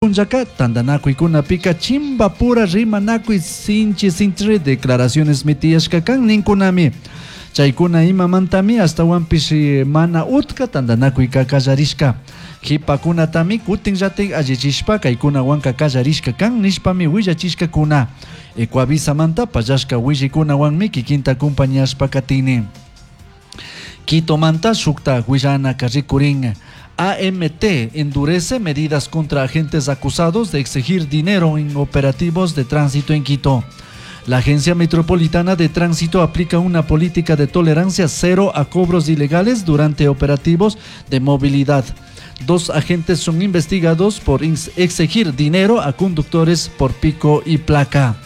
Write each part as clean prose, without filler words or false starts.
Punllaka tantanakuikunapika chimbapura rimanakuy sinchi sinchi declaracionesmi tiyashka kan ninkunami. Chaykuna imamantami ashtawanpish mana utka tantanakuyka kallarishka. Jipakunatami kutinllatik allichishpa kaykunawanka kallarishka kan nishpami willachishkakuna. Ecuavisamanta pallashka willikunawanmi kikinta acompañashpa katini. Quitomanta shukta willanaka rikurin. AMT endurece medidas contra agentes acusados de exigir dinero en operativos de tránsito en Quito. La Agencia Metropolitana de Tránsito aplica una política de tolerancia cero a cobros ilegales durante operativos de movilidad. 2 agentes son investigados por exigir dinero a conductores por pico y placa.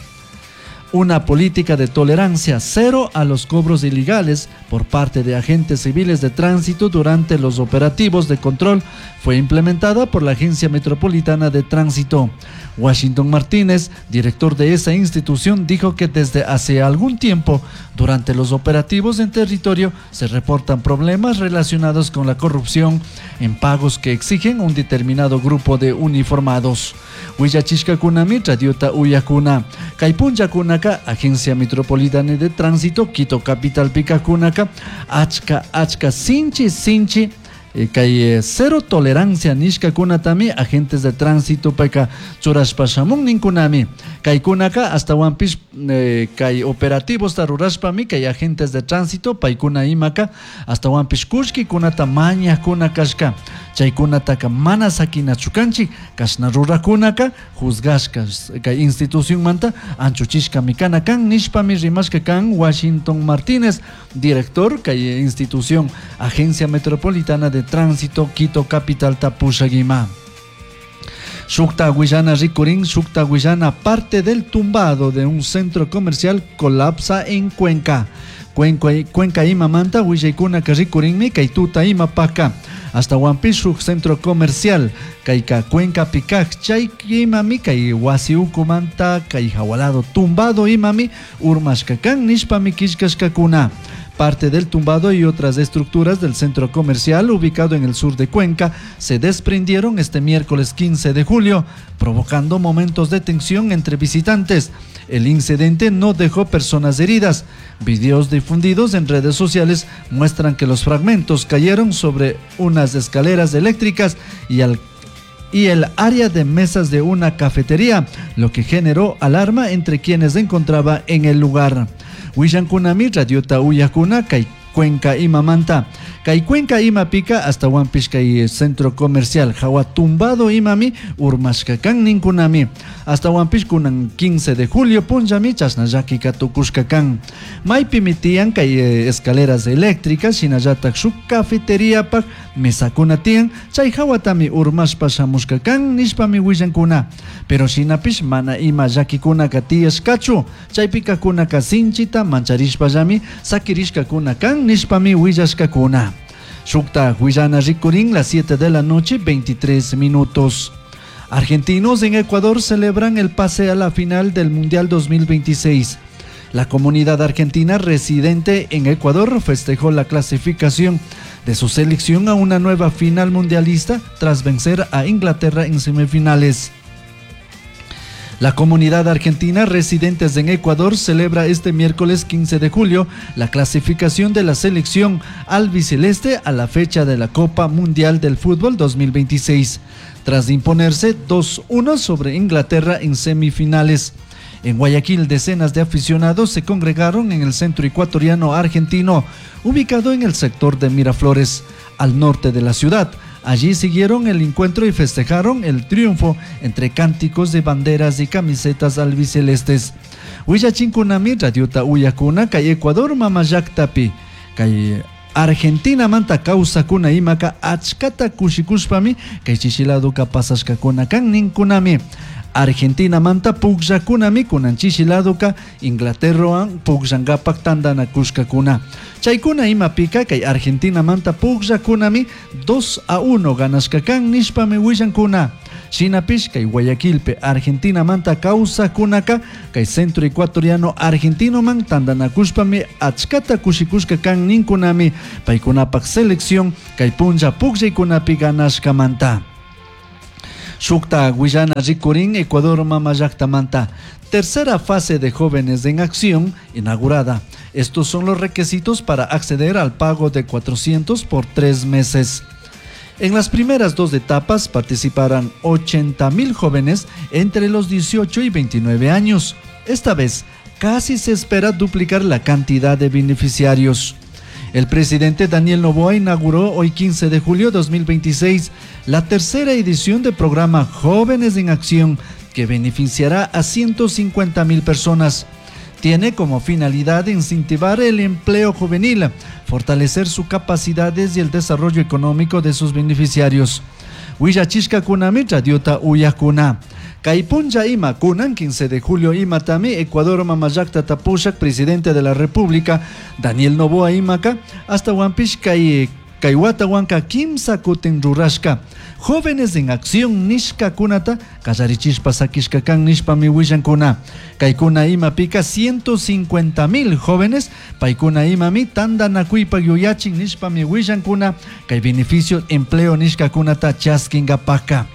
Una política de tolerancia cero a los cobros ilegales por parte de agentes civiles de tránsito durante los operativos de control fue implementada por la Agencia Metropolitana de Tránsito. Washington Martínez, director de esa institución, dijo que desde hace algún tiempo, durante los operativos en territorio, se reportan problemas relacionados con la corrupción en pagos que exigen un determinado grupo de uniformados. Willachishkakunami radiota uyakuna. Kay punllakunaka Agencia Metropolitana de Tránsito Quito Capital pikakunaka achka achka sinchi sinchi kay cero tolerancia nishkakunatami agentes de tránsito payka churashpa shamun ninkunami. Kaykunaka ashtawanpish kay operativos rurashpami kay agentes de tránsito paykuna imaka ashtawanpish kullkikunata mañakuna kashka. Chaykunataka mana sakinachu kanchik, kashna rurakunaka juzgashka kay institucionmanta anchuchishkami kana kan nishpami rimashka kan Washington Martínez, director kay institución Agencia Metropolitana de Tránsito Quito Capital tapushagima. Shukta Guayana rikurin, Shukta Guayana, parte del tumbado de un centro comercial colapsa en Cuenca. Cuenca, Cuenca imamanta, willaykuna rikurinmi, kay tuta imapaka. Hasta Huampish centro comercial, kayka Cuenca pikaj, chay imami, kay wasi ukumanta, kay jawalado tumbado imami, urmashkakan, nishpami kishkashkakuna. Parte del tumbado y otras estructuras del centro comercial ubicado en el sur de Cuenca se desprendieron este miércoles 15 de julio, provocando momentos de tensión entre visitantes. El incidente no dejó personas heridas. Videos difundidos en redes sociales muestran que los fragmentos cayeron sobre unas escaleras eléctricas y el área de mesas de una cafetería, lo que generó alarma entre quienes se encontraba en el lugar. Willankunami radiota uyakuna kay Cuenca imamanta. Kay Cuenca imapika hasta Huampish kay centro comercial jawa tumbado imami urmashkakan ninkunami. Hasta Huampish kunan 15 de julio punllami chashna llakika tukushkakan. Maypimi tiyan kay escaleras eléctricas shinallatak shuk cafeteriapak mesakuna tiyan chay hawatami urmashpa shamushkakan nishpami willankuna. Pero shinapish mana ima llakikunaka tiyashkachu. Chaypikakunaka sinchita mancharishpallami sakirishkakuna kan nishpami willashkakuna. Shukta willana rikurin las 7 de la noche 23 minutos. Argentinos en Ecuador celebran el pase a la final del Mundial 2026. La comunidad argentina residente en Ecuador festejó la clasificación de su selección a una nueva final mundialista tras vencer a Inglaterra en semifinales. La comunidad argentina residentes en Ecuador celebra este miércoles 15 de julio la clasificación de la selección albiceleste a la fecha de la Copa Mundial del Fútbol 2026, tras imponerse 2-1 sobre Inglaterra en semifinales. En Guayaquil, decenas de aficionados se congregaron en el centro ecuatoriano argentino, ubicado en el sector de Miraflores, al norte de la ciudad. Allí siguieron el encuentro y festejaron el triunfo entre cánticos de banderas y camisetas albicelestes. Willachinkunami, radiota uyakuna, kay Ecuador mamallaktapi, kay Argentina manta kawsakuna imaka achkata kushikushpami, kay chishiladuka pasashkakuna kan ninkunami. Argentina manta pukllakunami kunan chishiladuka Inglaterroan pukllankapak tantanakushkakuna. Chaykuna imapika kay Argentina manta pukllakunami 2-1 ganashkakan nishpami willankuna. Shinapish kay Guayaquilpe Argentina manta kawsakunaka kay centro ecuatoriano argentinoman tantanakushpami achkata kushikushka kan ninkunami paykunapak selección kay punlla pukllaykunapi ganashkamanta. Shukta huillana rikurin Ecuador mama llaktamanta. Tercera fase de Jóvenes en Acción inaugurada. Estos son los requisitos para acceder al pago de 400 por 3 meses. En las primeras dos etapas participarán 80.000 jóvenes entre los 18 y 29 años. Esta vez casi se espera duplicar la cantidad de beneficiarios. El presidente Daniel Noboa inauguró hoy, 15 de julio de 2026, la tercera edición del programa Jóvenes en Acción, que beneficiará a 150 mil personas. Tiene como finalidad incentivar el empleo juvenil, fortalecer sus capacidades y el desarrollo económico de sus beneficiarios. Huillachishcacunami radiota uyajcuna. Kay punlla ima, kunan 15 de julio imatami, Ecuador mamallactata pushak, presidente de la República, Daniel Noboa imaka, ashtahuanpish kay kay huatahuanca kimsa kutin rurashka. Jóvenes en Acción nishkakunata kallarichishpa sakishka kan nishpami willankuna. Kaykuna imapika 150 mil jóvenes paykuna imami tandanakuypak yuyachin nishpami willankuna kay beneficio empleo nishkakunata chaskinkapaka.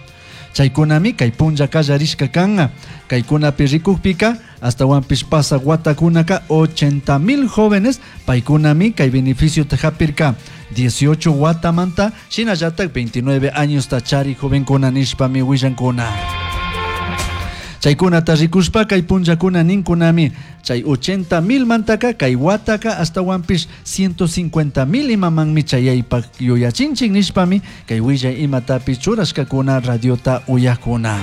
Chaykunami kay punlla kallarishka kan. Kaykunapi rikukpika ashtahuanpish pasak watakunaka 80 mil jóvenes paykunami kay beneficio hapirka 18 watamanta shinallatak 29 años chari jovenkuna nishpami willankuna. Chaykunata rikushpa kay punllakuna ninkunami chay 80 mil mantaka kay wataka ashtahuanpish 150 mil imamanmi chayaypak yuyachinchik nishpami kay willay imatapi churashkakuna radiota uyakuna.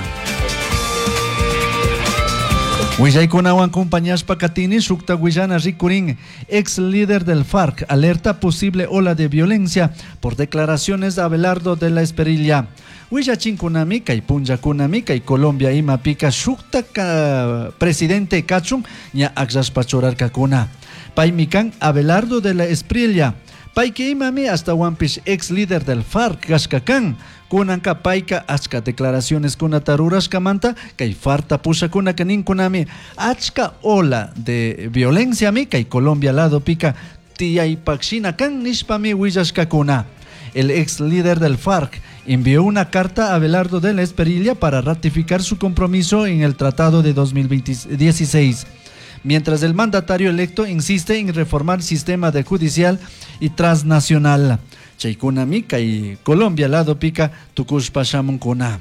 Willaykunawan acompañashpa katini shukta willana rikurin. Ex líder del FARC alerta posible ola de violencia por declaraciones de Abelardo de la Espriella. Willachinkunami kay punllakunami kay Colombia imapika shukta ka presidente kachun ña akllashpa churarkakuna. Paymi kan Abelardo de la Espriella. Payka imami ashtahuanpish ex líder del FARC kashka kan. Kunanka payka achka declaraciones kunata rurashkamanta kay FARCta pushakunaka ninkunami achka ola de violencia mi kay Colombia lado pika tiyaypak shina kan nishpami willashkakuna. El ex líder del FARC envió una carta a Abelardo de la Espriella para ratificar su compromiso en el Tratado de 2016, mientras el mandatario electo insiste en reformar el sistema de judicial y transnacional. Chaykunami kay Colombia lado pika tukushpa shamunkuna.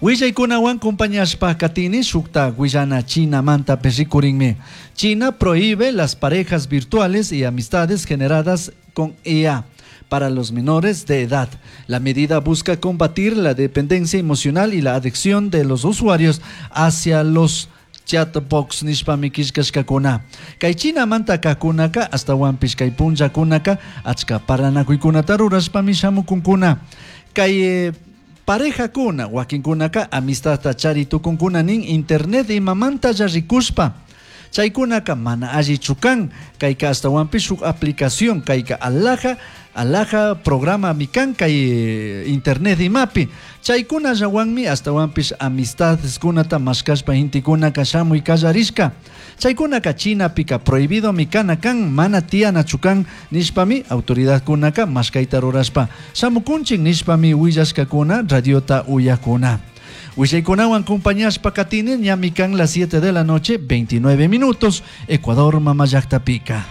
Willaykunawan acompañashpa katini shukta willana China manta rikurinmi. China prohíbe las parejas virtuales y amistades generadas con IA para los menores de edad. La medida busca combatir la dependencia emocional y la adicción de los usuarios hacia los chatbots nishpami killkashkakuna. Kay Chinamanta kakunaka ashtahuanpish kay punllakunaka achka parlanakuykunata rurashpami shamukunkuna. Kay parejakuna wakinkunaka amistadta chari tukunkuna nin internet imamantalla rikushpa. Chaykunaka mana allichu kan kayka ashtahuanpish shuk aplicación kayka alaja alaja programa mi kan kay internet imapi. Chaykunallawanmi ashtahuanpish amistadeskunata mashkashpa gentekunaka shamuy kallarishka. Chaykunaka Chinapika prohibido mi kana kan mana tiyanachu kan nishpami autoridadkunaka mashkayta rurashpa shamukunchik nishpami willashkakuna radiota uyakuna. Willaykunawan acompañashpa katini ñami kan las 7 de la noche, 29 minutos, Ecuador mama llaktapika.